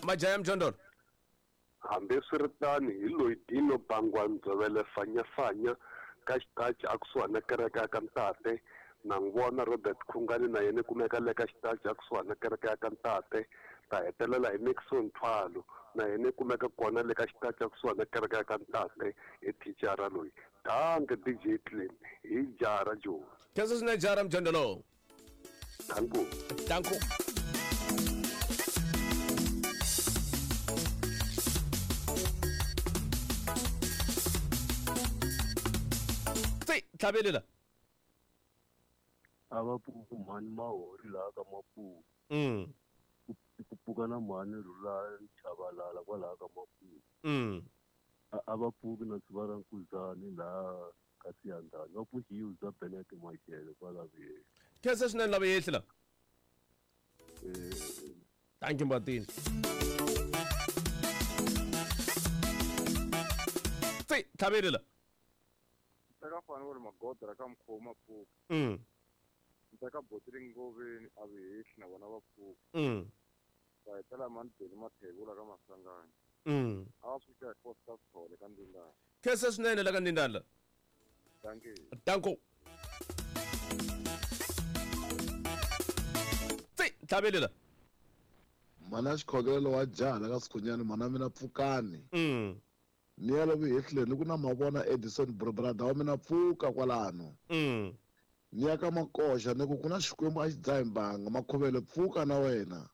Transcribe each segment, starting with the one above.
Majaya Mjondolo. Hambiswiritano, hi loyi Dino Bangwa Ndzovele Fanyafanya ka xitachi a kusuhani na kereke ya ka Ntate. Na n'wi vona Robert Khungani na yena i kumeka le ka xitachi a kusuhani na kereke ya ka Ntate. Ta hetelela hi Nixon Thwalo na yena i kumeka kona le ka xitachi a kusuhani na kereke ya ka Ntate i thicara loyi. Danke DJ Clem hi jara Joni. Khensa swinene jara Mjondolo. Danko. Danko. Tsi, tlhavelela. A va pfuki mhani mahori laha ka Mapuwa. Ku pfuka na mhani Rhulani Chabalala kwalaha ka Mapuwa. A va pfuki na Tshuva ra Nkuzani laha ka Siyandhani. Va pfuxi Yuza Bennett Mashele kwala Vuyeni. Khensa swinene lava yehli la. Thank you Mbatini. Tsi, tlhavelela. Teka fani ku ri magoda ka mukhomi pfuka. Teka botiri ngoveni a vi hehli na vona va pfuka. Va hetela mani beli mathebula ka masangani. A va pfuka hi Costa Sithole ka Ndindana. Khensa swinene la ka Ndindana. Thank you. Danko. Tsi, tlhavelela. Mhana xikhongelo wa jaha la ka Sikhunyani mhana mina pfukani. Ni ya lomu hehleni ku na mavona Edison brother wa mina pfuka kwalano. Ni ya ka Makoxa ni ku ku na Xikwembu a xi dzahi mbanga Makhuvele pfuka na wena.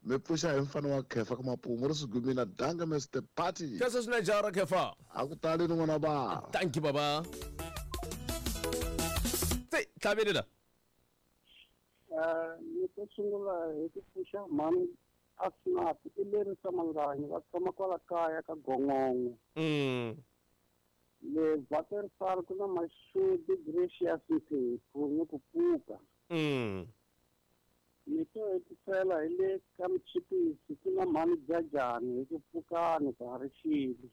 Mi pfuxa hi mfana wa Khefa ka Mapumu ri swigumina danke Mister Party. Khensa swinene jaha ra Khefa. A ku tali ni n'wana ba. Thank you baba. Tsi, tlhavelela. Ni to sungula hi ku pfuxa mhani Asnath i lerisa Manganyi va tshama kwala kaya ka Gongongo. Le Waterfall ku na Mashudu Gracious Mphephu ni ku pfuka. Ni to hetisela hi le ka Mchipisi ku na mhani Jajani hi ku pfukani ka ha ri xile.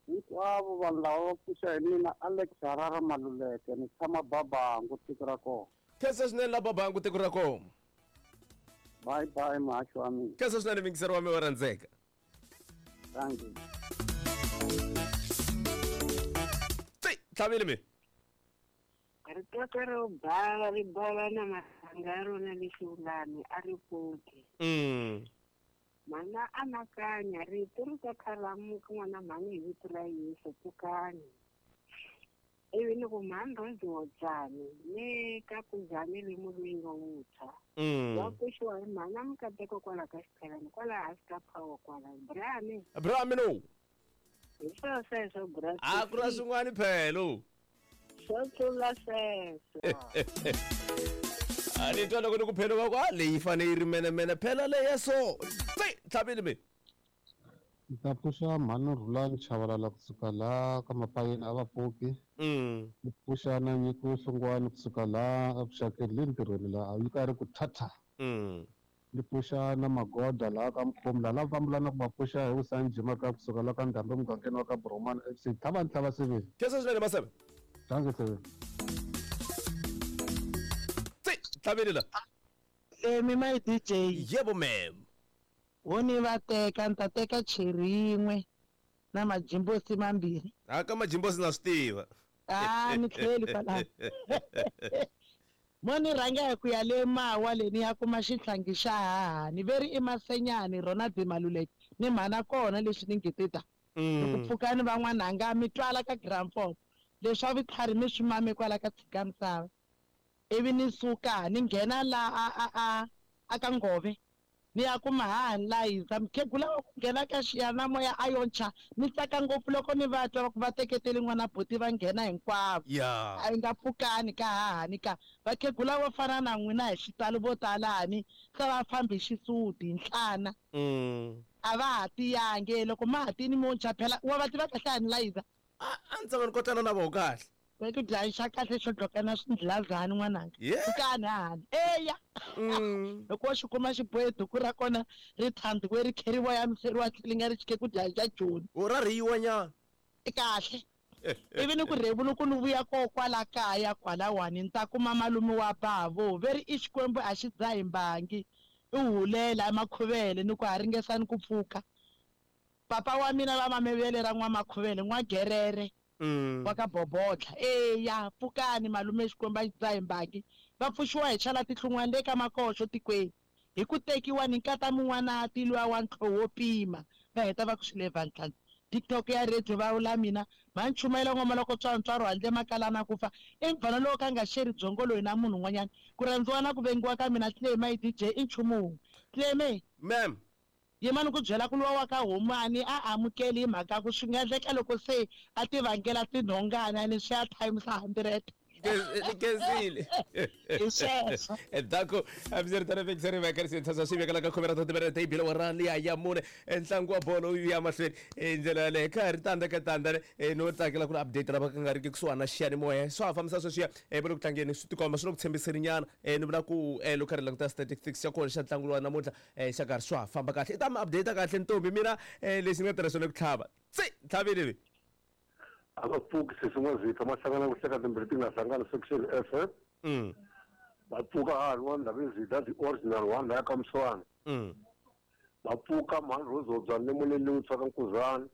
Hinkwavo vanhu lava va pfuxa hi mina Alex Harara Maluleke ni tshama Babangu tiko ra kona. Khensa swinene la Babangu tiko ra kona. Bye bye muhaxi wa mina. Khensa swinene mingiseri wa mina wa rhandzeka. Thank you. Tsi, tlhavile mi. Ritoto ro bava ri bava na marhanga ya rona lexi vulani a ri pfuki. Mhana anakanya rito ri ta khalamuka n'wana mhani hi vito ra Yesu pfukani. Ivi ni ku mhani Rose Wodzani le ka Kuzani le mulwingo wuntshwa. Wa pfuxiwa hi mhana Mukateko kwala ka Xiphelani kwala hansi ka power kwala. Brani. Brami no. Hi swo sweswo bra. A ku na swin'wana phelo. Swo tlula sweswo. A ni twa loko ni ku phelo va ku a leyi fanele yi ri menemene phela leya so. Tsi, tlhavile mi. Ni ta pfuxa mhani Rhulani Chabalala kusuka laha ka Mapayeni a va pfuki. Ni pfuxa na Nyiko Hlongwane kusuka laha evuxakeni le ntirhweni laha yi karhi ku thatha. Ni pfuxa na Magoda laha ka Mkhomi laha lava fambelana ku va pfuxa hi Vusani Jima ka kusuka laha ka Ndhambi emugangeni wa ka Bromani FC. Tlhava ni tlhava sivili. Khensa swinene Maseve. Dankie sivili. Tsi, tlhavile la. Emi my DJ. Yebo ma'am. Wo ni va teka ni ta teka cherry yin'we na majimbosi mambirhi. Ha ka majimbosi na swi tiva. Ah ni tlheli kwalaho. Mo ni rhanga hi ku ya le Mawa le ni ya kuma xihlangi xa hahani ve ri i Masenyani rona Bimaluleke ni mhana kona leswi ni nge te ta. Loko pfukani van'wana mi twala ka gramfon leswa vutlhari mi swi mame kwala ka tshika misava. Ivi ni suka ni nghena la a a a a ka Ngove ni ya kuma hahani la hisa mukhegula wa ku nghena ka xiyanimoya a yo ntshwa ni tsaka ngopfu loko ni va twa va ku va teketele n'wana buti va nghena hinkwavo. A yi nga pfukani ka hahani ka vakhegula vo fana na n'wina hi xitalo vo talani se va fambi hi xisuti hi nhlana. A va ha tiyangi loko ma ha tini mo ntshwa phela wa va tiva kahle hani Liza. A ni tshama ni kotlana na voho kahle. Va ku dlaya xa kahle xo dloka na swindlazani n'wananga. Pfukani hahani. Eya. Loko wo xi kuma xi bohe duku ra kona ri thandziwe ri khe ri voyamiseriwa tlhelo nga ri xike ku dlaya xa Joni. O ra rhiyiwa nyana. Kahle. Ivi ni ku rhevulu ku ni vuya ko kwala kaya kwalawani ni ta kuma malume wa bavo ve ri i Xikwembu a xi dzahi mbangi. I hulela emakhuvele ni ku ha ringesani ku pfuka. Papa wa mina va mamevele ra n'wamakhuvele n'wagerere wa ka Bobodla. Eya pfukani malume Xikwembu a xi dzahi mbangi va pfuxiwa hi chala tihlungwana le ka makoxo tikweni hi ku tekiwa ni nkata mun'wanati luya wa ntlhoho wo pima va heta va ku swi le vantlhanu. TikTok ya radio va vula mina mhani chumayela ngoma loko tswantswaro handle makalana ku fa i mfana lowo ka nga xeri byongo loyi na munhu un'wanyana ku rhandziwa na ku vengiwa ka mina Clay my DJ i nchumu wun'we. Clay Ma'am. Yima ni ku byela ku luwa wa ka Humani a amukeli hi mhaka ku swi nga endleka loko se a ti vangela tinhongana ni swi ya times 100. Khensile. Hi sweswo. Endzhaku hambiswiritano vekiseri va karhi swi swi vekela ka khume ra timinete yi bile wa liya ya mune ntlangu wa bolo wu ya mahlweni hi ndlela yaleyo ka ha ri tandza ka tandza no tsakela ku ri update lava ka nga riki kusuhani na xiyanimoya swa ha fambisa sweswiya va le ku tlangeni swi tikomba swi le ku tshembiseni nyana ni vula ku loko karhi languta statistics xa kona xa ntlangu lowa namuntlha xa karhi swa ha famba kahle i ta mi update kahle ntombi mina lexi ni nga tirha swona ku tlhava tsi tlhavile vi A va pfuki sesi N'wazitha ma hlangana ku hleka timbirhi ti nga hlangani section F. Va pfuka ha ri wa Ndhavezitha the original one laya ka Mswana. Va pfuka mhani Rose Hobyani le Moleni Wutswa ka Nkuzana.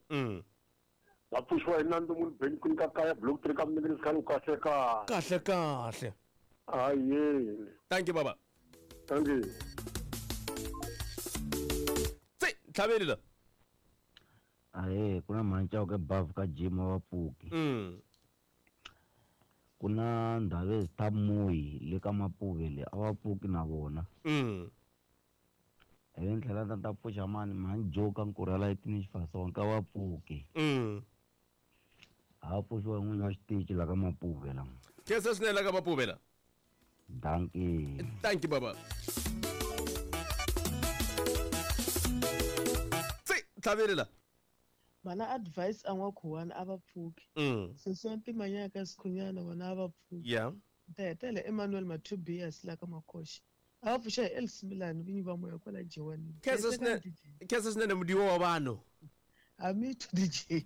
Va pfuxiwa hi Nandzu Munhu Benny Kwini ka kaya block 3 ka Mninginis khani kahle kahle. Kahle kahle. Ayeni. Thank you baba. Thank you. Tsi tlhaveli la. Ahe ku na mhani Chauke bavu ka gym va pfuki. Ku na Ndhavezitha Muyi le ka Mapuve le a va pfuki na vona. Ivi ni tlhela ni ta pfuxa mani mhani Joe ka Nkurhela etini Xifasonke ka va pfuki. A va pfuxiwa hi n'winyi wa xitichi la ka Mapuve la. Khensa swinene la ka Mapuve la. Dankie. Thank you baba. Tsi tlhaveli la. Vana advice a n'wakhuwani a va pfuki. Sesi wa Ntimanyaka ka Sikhunyana vona a va pfuki. Ta hetela Emmanuel Mathubias la ka Makoxa. A va pfuxa hi Elsie Milani vinyi va moya kwala Jewanini. Khensa swinene. Khensa swinene mudiwa wa vanhu. A me too DJ.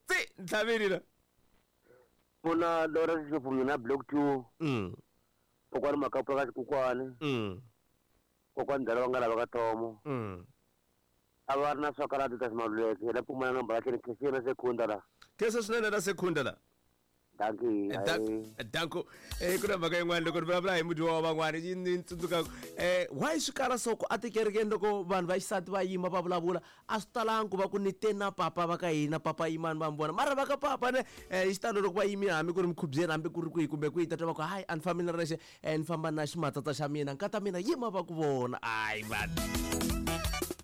Tsi ntlhaveli la. Pfuna Lawrence Ndlovu mina block 2. Kokwani Makapu ka Xikukwani. Kokwani Dala va nga lava ka Thomo. A va ri na swakarati ta Ximaluleke la pfumala nomboro ya tlhelo Khensile na Sekhunda la. Khensa swinene na Sekhunda la. Dankie. Danko. Ku na mhaka yin'wana loko ni vulavula hi mudyiwa wa van'wana yi ni tsundzuka why swi kala so ku atikerekeni loko vanhu va xisati va yima va vulavula a swi talangi ku va ku ni te na papa va ka hina papa yimani va mi vona mara va ka papa ne hi xitalo loko va yimile hambi ku ri mikhubyeni hambi ku ri kwihi kumbe kwihi tata va ku hayi a ni fambi ni ri nexe ni famba na ximatsatsa xa mina nkata mina yima va ku vona ayi vanhu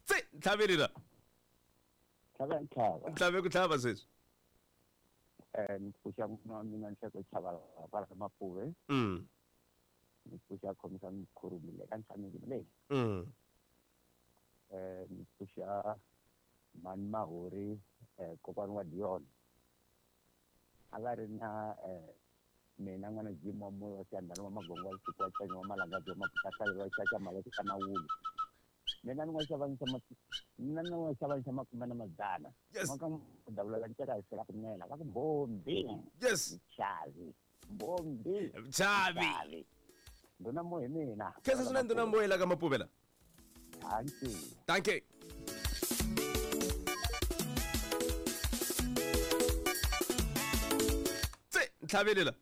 tsi ntlhaveli la Tlhava ntlhava. Ntlhave ku tlhava sweswi. Ni pfuxa n'wana wa mina Nhleko Chavalala kwala ka Mapuve. Ni pfuxa Khomisa Mkhurumi le ka Ntlhameki leyi. Ni pfuxa Mhani Mahori kokwani wa Dion. A va ri na mina n'wana Jim wa moya wa Xiyandhana wa Magongo wa Siku wa Tsanya wa Malangazi wa Maputa wa Xaxa Maveki ka Mawulu. Mina ni n'wa xavanisa mina ni n'wa xavanisa makume na madzana. Maka davula la nceka hi fela kunela va ku bombi. Chavi. Bombi. Chavi. Nduna moya mina. Khensa swinene nduna moya la ka Mapuve la. Thank you. Thank you. Tsi ntlhaveli la.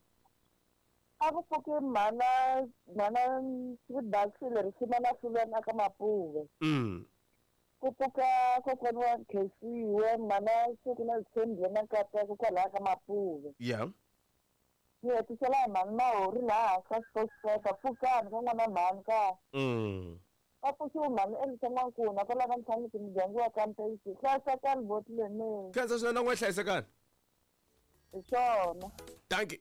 A ku pfuki mhana Swibaxile ri sima na Fulwana ka Mapuve. Ku pfuka kokwani wa Nkhensiwe mhana Siku na Zithembiwe na Nkateko kwalaya ka Mapuve. Ni hetisela hi mhani Mahori laha ka Xikoxeka pfukani ka n'wana mhani ka. Va pfuxiwe mhani Elisa N'wankuna kwala ka Ntlhamiki muganga wa ka Mpeyisi. Hlayisekani boti lemeni. Khensa swinene na n'we hlayisekani. Hi swona. Thank you.